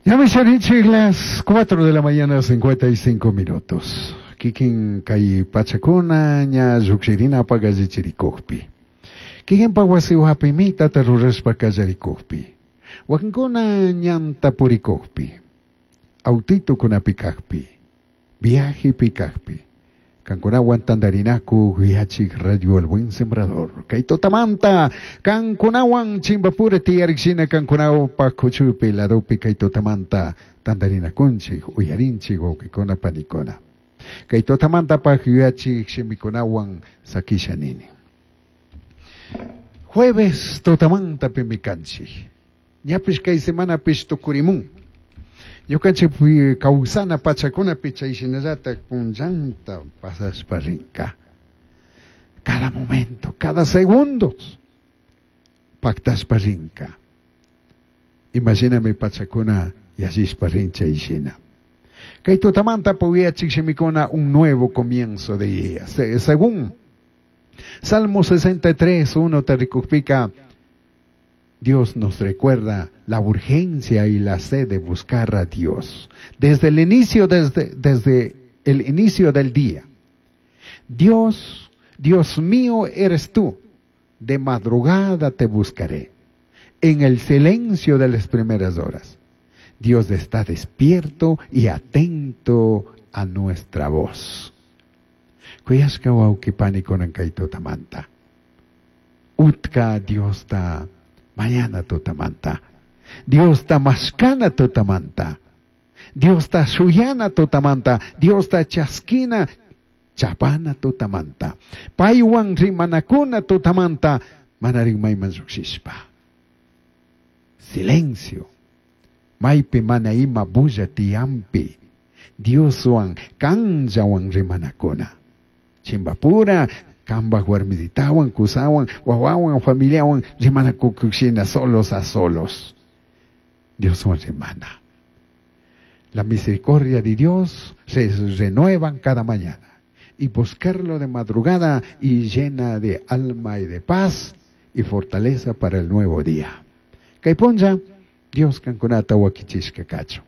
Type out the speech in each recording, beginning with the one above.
Ñami sharinchik las 4 de la mañana 55 minutos. Kikin kay pachakuna ña llukshirinapak allichirikukpi. Kikinpak wasi mitata rurashpa kallarikukpi. Wakinkuna ñanta purikukpi. Autitukunapi kakpi. Viajepi kakpi. Kankunawan tantarinaku yachik Radio El Buen Sembrador. Kay tutamanta kankunawan chimpapura tiyarikshina kankunawpak kuchupi ladopi kay tutamanta tantarinakunchik uyarinchik wawqikuna panikuna. Kay tutamantapaq yachik shimikunawan sakisha nini. Jueves tutamanta pimi kanchik. Ñapish kay semanapish tukurimun. Ñukanchik kawsana pachakunapi chay shinallatak punllanta pasashpa rinka. Cada momento, cada segundo pactashpa rinka. Imagíname pachakuna yallishpa rin chay shina. Kay tutamanta puyachik shimikuna un nuevo comienzo de día. Según Salmo 63, 1 tarikukpika, Dios nos recuerda la urgencia y la sed de buscar a Dios. Desde el inicio, desde el inicio del día. Dios, Dios mío eres tú. De madrugada te buscaré. En el silencio de las primeras horas. Dios está despierto y atento a nuestra voz. Kuyashka wawqi panikuna kay tutamanta. Utka Diosta mañana tutamanta. Diosta mashkana tutamanta. Diosta shuyana tutamanta. Diosta chaskina chapana tutamanta. Paywan rimanakuna tutamanta. Manarin mayman llukshishpa. Silencio. Maypi mana ima bulla tiyampi. Dioswan kanllawan rimanakuna. Chimpapura, kambaj warmisitawan, kusawan, wawawan, familiawan, rimanakukushina solos a solos. Dioswan rimana. La misericordia de Dios se renuevan cada mañana. Y buscarlo de madrugada y llena de alma y de paz y fortaleza para el nuevo día. Kay punlla, Dios kankunata wakichishka kachun.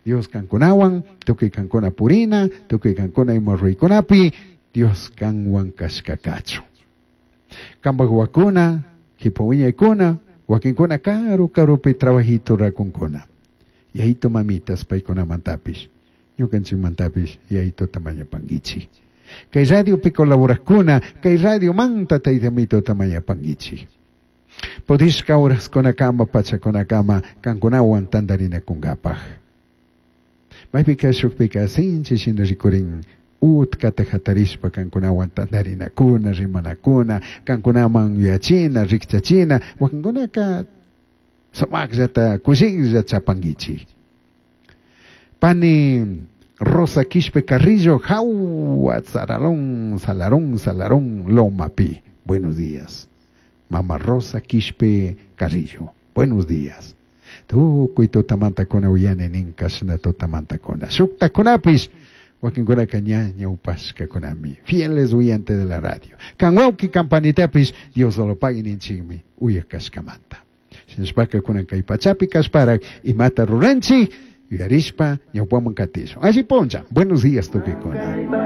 Dios kankunawan, tukuy kankuna purina, tukuy kankuna ima ruraykunapi, Dios kanwan kashka kachun. Kambaj wakuna, kipa wiñaykuna, wakinkuna karu karupi trabajito rakunkuna. Yayito mamitas paykunamantapish, ñukanchikmantapish yayituta mañapankichik. Kay radiopi colaborakuna, kay radiomanta taytamituta mañapankichik. Pudishka horaskunakama pachakunakama kankunawan tantarinakunkapaj. Maypika shukpika sinchi shina rikurin utkata hatarishpa kankunawan tantarinakuna, rimanakuna, kankunaman yuyachina, rikchachina, wakinkunaka sumaqllata kushiklla chapankichik. Pani Rosa Quispe Carrillo, Jaua, Zaralón, Salarón, Salarón, Lomapi. Buenos días. Mama Rosa Quispe Carrillo. Buenos días. Tukuy tutamantakuna uyani nin kashna tutamantakuna. Shuktakunapish wakinkunaka ña ñawpashkakunami. Fieles oyentes de la radio. Kan wawki kampanitapish Dios lo pague ninchikmi uyak kashkamanta. Shinashpaka kunan kay pachapi kashparak imata ruranchik yuyarishpa ñawpaman katishun. Alli puncha. Buenos días tukuykuna.